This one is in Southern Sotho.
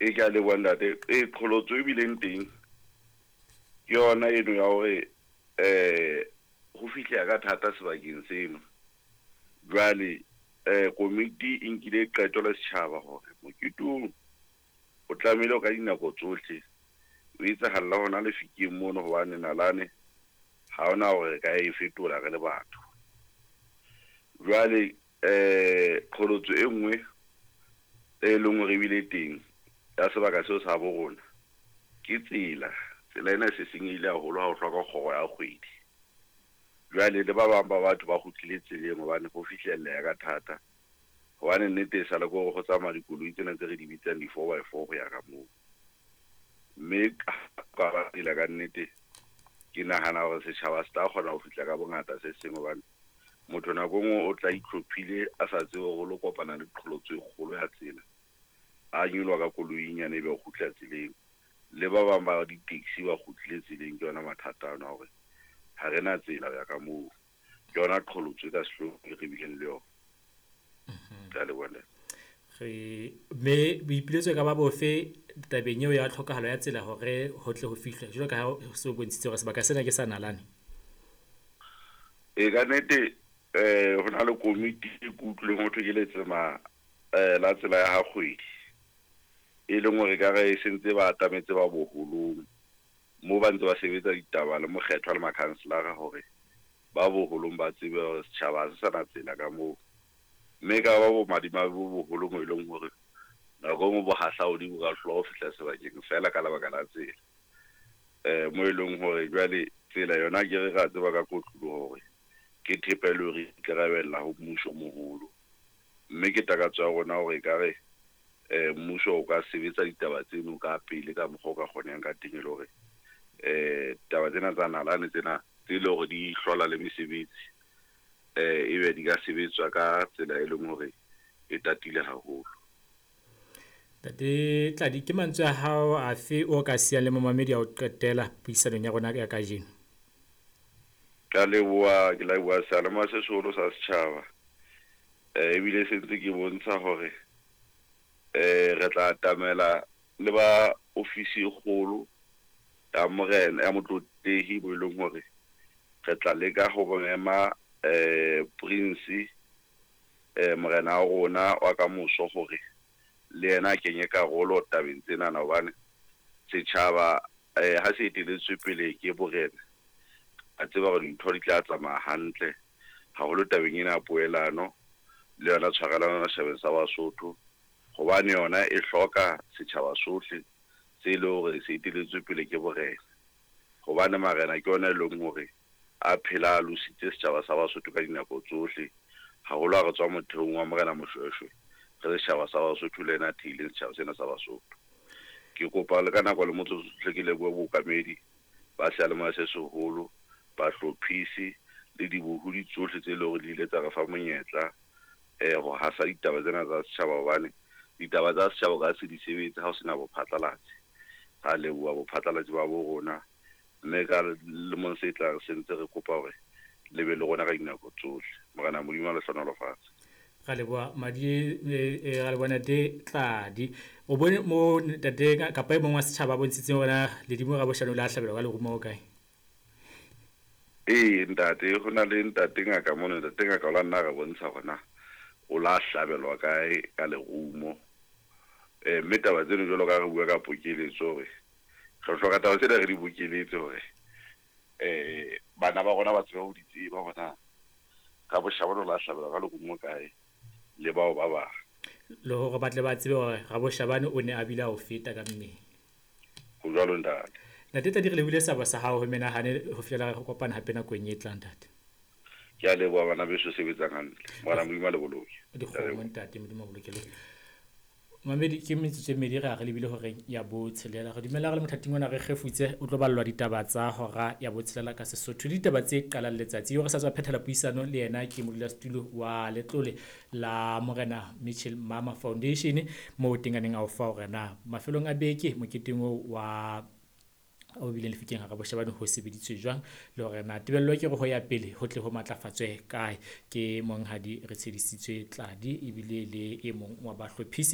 E ke a leboha ntate. E qholotso e bileng teng ke yona eno ya hore ho fihleha ka thata sebakeng seno. Jwale komiti e nkile qeto le setjhaba hore mokete oo o tlamehile ka dinako tsohle o etsahalla hona lefikeng mono hobane nalane ha hona hore re ka e fetola re le batho. Jwale qholotso e nngwe e leng hore ebile teng ya sebaka seo sa bo rona ke tsela. Tsela ena e se senyehile haholo ha o hloka kgoro ya kgwedi. Jwale le ba bang ba batho ba kgutlile tseleng hobane ho fihlelleha ka thata. Hobane nnete e sale ke hore ho tsamaya dikoloi tsena tse re di bitsang di-4x4 ho ya ka moo. Mme ka ba tsela ka nnete ke nahana hore setjhaba se tla kgona ho fihla ka bongata se seng hobane motho nako e nngwe o tla itlhophile a sa tsebe hore o lo kopana le qholotso e kgolo ya tsela. A nyoloha ka koloi e nyane ebe o kgutla tseleng. Le ba bang ba di-taxi ba kgutlile tseleng ke yona mathata ano a hore ha re na tsela ho ya ka moo. Ke yona qholotso e ka sehloohong e re bileng le yona. Ke a leboha ntate. Re mme boipiletso e ka ba bofe tabeng eo ya tlhokahalo ya tsela hore ho tle ho fihlwe jwalo ka ha o se o bontshitse hore sebaka sena ke sa nalane? E ka nnete ho na le komiti e ke utlwileng ho thwe ke letsema la tsela ya ha kgwedi. E leng hore ekare e sentse ba atametse ba boholong moo ba ntse ba sebetsa ditaba le mokgethwa le makhanselara hore ba boholong ba tsebe hore setjhaba ha se sa na tsela ka moo. Mme e ka ba bomadimabe bo boholo moo e leng hore nako e nngwe bohahlaodi bo ka hlola ho fihla sebakeng feela ka lebaka la tsela. Moo e leng hore jwale tsela yona ke re ra tseba ka kotloloho hore ke thepa e le hore e ikarabella ho mmuso o moholo. Mme ke takatso ya rona hore ekare mmuso o ka sebetsa ditaba tseno ka pele ka mokgwa o ka kgonehang ka teng e le hore taba tsena tsa nalane tsena tse le hore di hlola le mesebetsi ebe di ka sebetswa ka tsela e leng hore e tatile haholo. Ntate Tladi, ke mantswe a hao afe o ka siyang le momamedi a ho qetela puisanong ya rona ya kajeno? Ke a leboha, ke leboha seyalemoya se seholo sa setjhaba. Ebile se ntse ke bontsha hore re tla atamela le ba ofisi e kgolo ya morena ya motlotlehi bo e leng hore re tla leka ho mema Prince morena wa rona wa kamoso hore le yena a kenye karolo tabeng tsenana hobane setjhaba ha se etelletswe pele ke borena, a tseba hore dintho di tla tsamaya hantle haholo tabeng ena ya poelano le yona tshwarelano setjhabeng sa Basotho hobane yona e hloka setjhaba sohle se le hore se etelletswe pele ke borena. Hobane marena ke yona e leng hore a phela a lositse setjhaba sa Basotho ka dinako tsohle, haholo ha re tswa motheong wa Morena Moshweshwe re setjhaba sa Basotho le yena a theileng setjhaba sena sa Basotho. Ke kopa le ka nako le motsotso hle ke lebohe bookamedi ba seyalemoya se seholo, bahlophisi le dibohodi tsohle tse leng hore di ile tsa re fa monyetla ho hasa ditaba tsena tsa setjhaba hobane ditaba tsa setjhaba o ka se di sebetse ha o sena bophatlalatsi. Ra leboha bophatlalatsi ba bo rona mme ka lemong se tlang se ntse re kopa hore le be le rona ka dinako tsohle. Morena Modimo a le hlohonolofatse. Ra leboha madi ra leboha ntate Tladi. O bone mo ntate kapa e mong wa setjhaba a bontshitseng hore na Ledimo Raboshane o ile a hlabelwa ka lerumo ho kae? Ee ntate, ho na le ntate ngaka mono, ntate ngaka o la nna re bontsha hore na o la hlabelwa kae ka lerumo. Mme taba tseno jwalo ka re bua ka pokeletso hore re hloka taba tsena re di bokeletse hore bana ba rona ba tsebe ho di tseba hore na Raboshabane o la hlabelwa ka lerumo kae le bao ba bang. Le hore ba tle ba tsebe hore Raboshabane o ne a bile a o feta ka mmele. Ho jwalo ntate. Ntate Tladi, re lebohile seabo sa hao ho menahane ho fihlela re kopana hape nakong e tlang ntate. Ke a leboha bana beso sebetsang hantle. Morena Modimo a le boloke. Dikgomo ntate, Modimo a boloke le. Mamedi ke metsotso e mmedi re a re lebile horeng ya botshelela. Re dumela re le mothating ona re kgefutse o tlo ballwa ditaba tsa hora ya botshelela ka Sesotho. Ditaba tse qalang letsatsi eo re sa tswa phethela puisano le yena ke modulasetulo wa letlole la Morena Mitchell Mama Foundation moo teng a neng a o fa hore na mafelong a beke moketeng oo wa o bileng lefikeng hara Boshabane ho sebeditswe jwang le hore na tebello ke hore ho ya pele ho tle ho matlafatswe kae. Ke monghadi re tshedisitswe Tladi ebile le e mong wa bahlophisi.